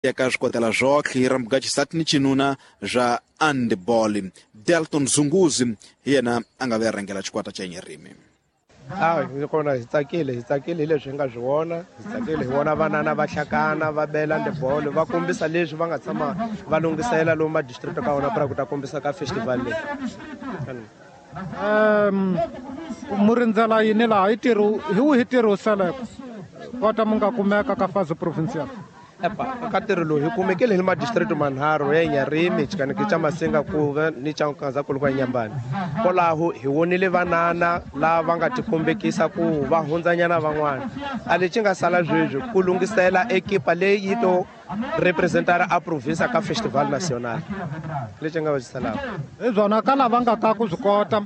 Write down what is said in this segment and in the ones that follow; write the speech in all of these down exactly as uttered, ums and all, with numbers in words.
Ya ka swikotela zwotlhe ra mugaxisati ni cinuna swa handball. Delton Zunguzi hi yena a nga ve rhangela xikwata xa Inyarimi. A hi kona hi tsakile, hi tsakile hi leswi hi nga swi vona, hi tsakile hi vona vanana va hlakana va bela handball, va kombisa leswi va nga tshama va lunghisela lomu ma district ka wona para ku ta kombisa ka festival leyi. Um mu rindzela yini laha hi tirho hi wihi ntirho wu seleke kota mu nga kumeka ka fase provincial? Epa, ka ntirho lowu hi kumekile hi madistrict manharhu ya Inyarimi, Xikaneke xa Masinga kuve ni xa Nkazankulu kwa Inyambani. Kwalaho hi vonile vanana lava nga tikombekisa ku va hundzanyana van'wana. A lexi nga sala sweswi ku lunghisela ekipa leyi yi to representara a province ka festival national. Lexi nga va xi salaka. Hi byona ka lava nga ka ku swi kota,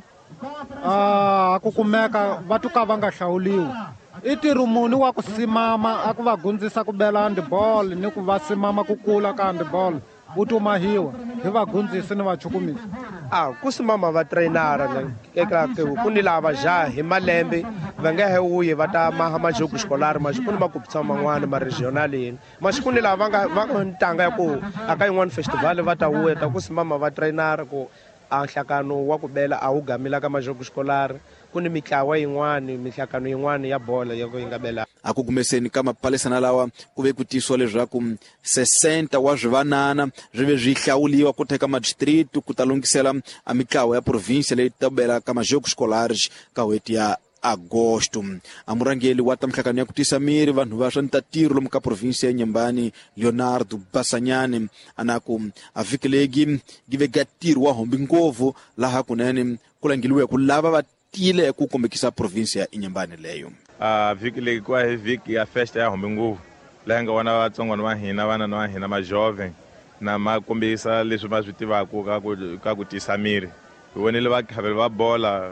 a ku kumeka va tuka va nga hlawuliwi. I ntirho muni wa ku simama a ku va gundzisa ku bela handball ni ku va simama ku kula ka handball wu tumahiwa hi vagundzisi ni vachukumisi? A ku simama va trainara eka ku ni lava jaha hi malembe va nga he wuyi va ta maha majogo xikolari maxi ku ni makupisa man'wana ma regional yini maxi ku ni lava va nga va nga ntanga ya ku a ka yin'wana festival va ta wuya ta ku simama va trainara ku a nhlakano wa ku bela a wu gamila ka majogo xikolari. Ku ni mitlawa yin'wani mihlakano yin'wani ya bola ya ku yi nga bela. A ku kumeseni ka mapalesana lawa ku ve ku tisiwa leswaku sesenta wa swivanana swi ve swi hlawuliwa ku teka madistrict ku ta lunghisela a mitlawa ya province leyi ta bela ka majogo xikolari ka n'hweti ya agosto. A murhangeri wa ta mihlakano ya ku tisa miri vanhu va swa ntatiro lomu ka province ya Inyambani Leonardo Basanyane ana ku a vhiki legi gi ve ga ntirho wa hombi ngopfu laha kunene ku langeliwe ku lava va tile ku kombekisa province ya Inyambani leyo. A vhiki leyi ku hi vhiki ya festa ya hombi ngopfu laha nga vona vatsongwana va hina vana va hina ma jovem na ma kombisa leswi va swi tivaka ka ku ka ku tisa miri. Hi vonile vakhaveli va bola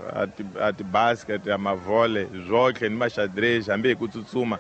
a ti-basket a mavhole zwotlhe ni maxadrez hambi hi ku tsutsuma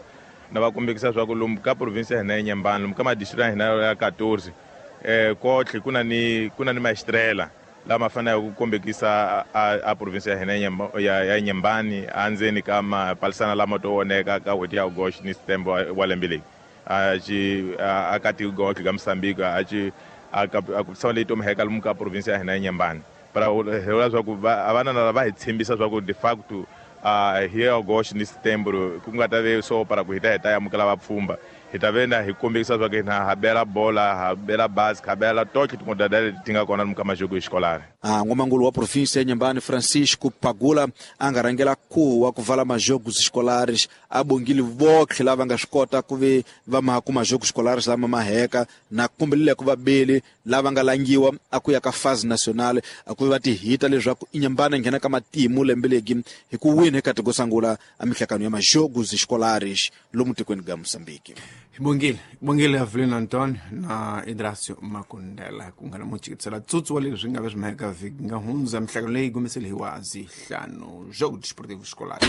na va kombekisa swa ku lomu ka province ya hina ya Inyambani lomu ka madistrict ya hina ya quatorze eh kotlhe ku na ni ku na ni maestrela lama faneleke ku kombekisa a, a province ya hina ya ya Inyambani andzeni ka mapalisana lama to voneka ka n'hweti ya August ni September wa lembe leyi a xi a ka tiko ka Mozambique a xi a ka ku tsama leyi to mheka lomu ka province ya hina ya Inyambani. Para hi vula swa ku va vana lava hi tshembisa swa ku de facto a hi August ni September ku nga ta ve so para ku hi ta hi ta amukela vapfhumba hi ta ve na hi kombekisa swa ku hina ha bela bola ha bela basket ha bela totlhe tin'wana leti ti nga kona lomu ka majogo ya xikolari. A n'wamangulu wa province ya Inyambani Francisco Pagula a nga rhangela khuwa wa ku vala majogo xikolaris a bongile votlhe lava nga swi kota ku ve va maha ku majogo xikolaris lama maheka na kombelile ku vabeli lava nga langiwa a ku ya ka phase nationale a ku va ti hita leswaku Inyambani nghena ka matimu lembe legi hi ku wina eka tiko sangula a mihlakano ya majogo xikolaris lomu tikweni ga Mozambique. Bongile, bongile Avelino Antonio na Idracio Makundela ku nga na muchikitsela tsutsu wa leswi nga ve swi maheka vhiki nga hundza mihlakano leyi gumisele hi wa zihlanu Jogo Desportivo Escolar.